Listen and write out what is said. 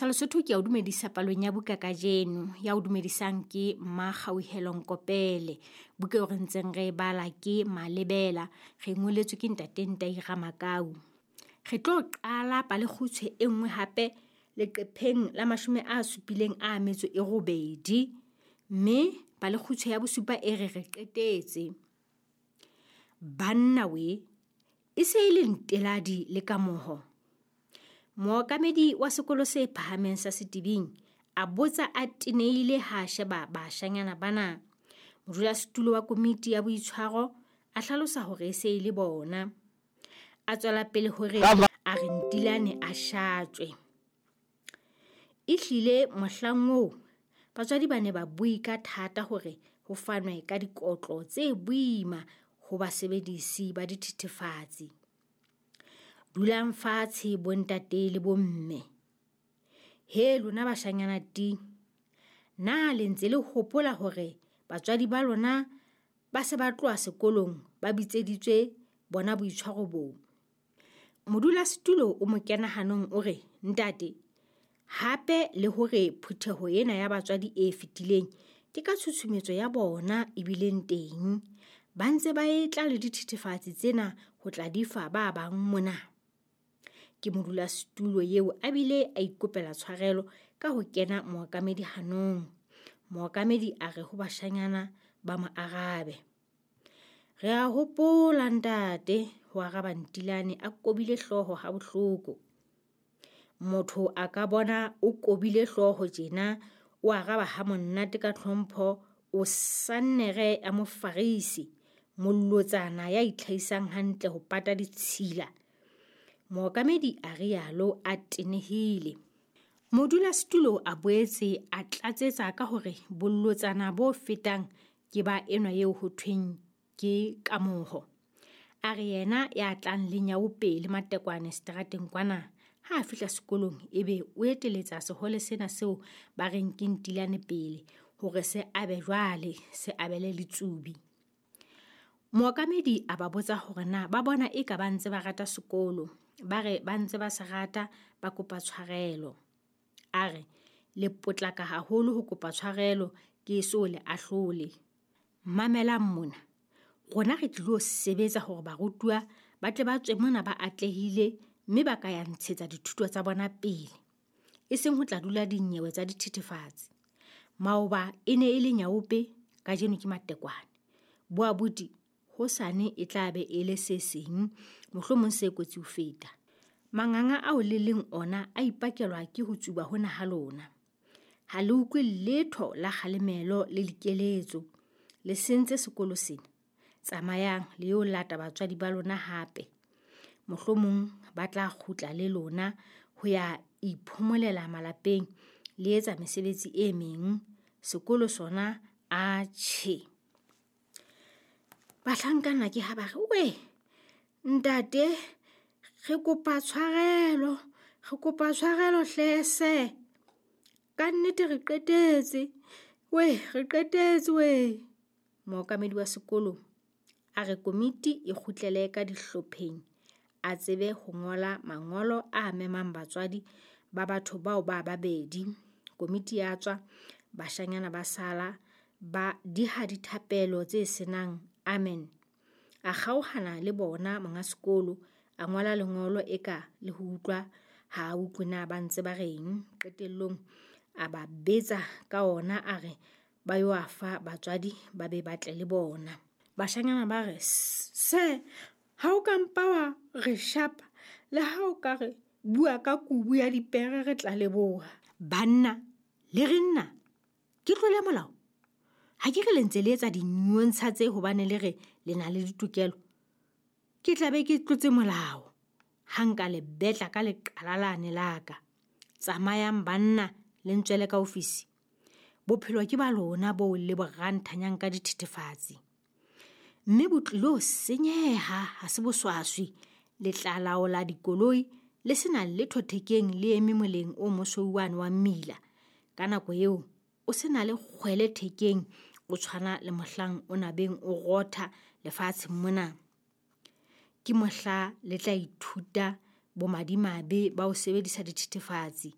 Lesotho ke ya o dumedisa palong ya buka kajeno. Ya o dumedisang ke Mmakgauhelo Nkopele. Buka eo re ntseng re e bala ke Malebela. Re ngoletswe ke Ntate Ntai Ramakau. Re tlo qala palekgutshwe e nngwe hape leqepheng la 78. Mme palekgutshwe ya bosupa e re re qetetse. Banna we, e se e le nteladi le kamoho. Mookamedi wa sekolo se phahameng sa Setibing a botsa a tenehile ha a sheba bashanyana bana. Modulasetulo wa komiti ya boitshwaro a hlalosa hore e se e le bona. A tswela pele hore a re Ntilane a shatjwe. Ehlile mohlang oo batswadi ba ne ba bue ka thata hore ho fanwe ka dikotlo tse boima ho basebedisi ba dithethefatsi. Dulang fatshe bontate le bomme. He lona bashanyana ting, na le ntse le hopola hore batswadi ba lona ba se ba tloha sekolong ba bitseditswe bona boitshwaro boo? Modulasetulo o mo kena hanong o re, ntate, hape le hore phutheho ena ya batswadi e fetileng ke ka tshutshumetso ya bona ebileng teng. Ba ntse ba etla le dithethefatsi tsena ho tla di fa ba bang mona. Ke modulasetulo eo a bile a ikopela tshwarelo ka ho kena mookamedi hanong. Mookamedi a re ho bashanyana ba mo arabe. Re a hopola ntate, ho araba Ntilane a kobile hlooho ha bohloko. Motho a ka bona o kobile hlooho tjena, o araba ha monate ka tlhompho, o sannere ya mofarisi, mollotsana ya itlhahisang hantle ho pata ditshila. Mookamedi a rialo a tenehile. Modulasetulo a boetse a tlatsetsa ka hore bollotsana bo fetang ke ba enwa eo ho thweng ke Kamoho. A re yena ya tlang le nyaope le matekwane seterateng kwana, ha a fihla sekolong ebe o eteletsa sehole sena seo ba reng ke Ntilane pele hore se abe jwale, se abele letsubi. Mookamedi a ba botsa hore na ba bona eka ba ntse ba rata sekolo. Ba re ba ntse ba se rata, ba kopa tshwarelo. A re le potlaka haholo ho kopa tshwarelo, ke eso le ahlole. Mamelang mona, rona re tlilo sebetsa hore barutuwa ba tle ba tswe mona ba atlehile mme ba ka ya ntshetsa dithuto tsa bona pele. E seng ho tla dula dinyewe tsa dithethefatsi. Maoba e ne e le nyaope, kajeno ke matekwane. Boabuti hosane e tla be e le se seng, mohlomong se kotsi ho feta. Manganga ao le leng ona a ipakelwa ke ho tsuba hona ha lona. Ha le utlwe letho la kgalemelo le dikeletso. Le sentse sekolo sena. Tsamayang le yo lata batswadi ba lona hape. Mohlomong ba tla kgutla le lona ho ya iphomolela malapeng le etsa mesebetsi e meng. Sekolo sona a tjhe. Bahlankana ke ha ba re, we ntate, re kopa tshwarelo, re kopa tshwarelo hlese. Ka nnete re qetetse, we re qetetse we. Mookamedi wa sekolo a re komiti e kgutlele ka dihlopheng, a tsebe ho ngola mangolo a memang batswadi ba batho bao ba babedi. Komiti ya tswa, bashanyana ba sala ba diha dithapelo tse senang amen. A kgaohana le bona monga sekolo, a ngola lengolo eka le ho utlwa ha a utlwe na ba ntse ba reng. Qetellong a ba betsa ka ona a re ba yo a fa batswadi ba be ba tle le bona. Bashanyana ba re, se, ha o ka mpa wa re shapa, le ha o ka re bua ka kubu ya dipere re tla leboha. Banna, le re nna, ke tlole molao? Ha ke re le ntse le etsa dinyontsha tse hobane le re le na le ditokelo. Ke tla be ke tlotse molao ha nka le betla ka leqala lane la ka. Tsamayang banna le ntswele ka ofisi. Bophelo ke ba lona boo le bo ranthanyang ka dithethefatsi. Mme bo tlilo senyeha, ha se boswaswi. Le tla laola dikoloi le sena letho thekeng le eme moleng o mosweu wane wa mmila. Ka nako eo o sena le kgwele thekeng, o tshwana le mohlang o nabeng o rotha lefatsheng mona. Ke mohla le tla ithuta bomadimabe ba ho sebedisa dithethefatsi.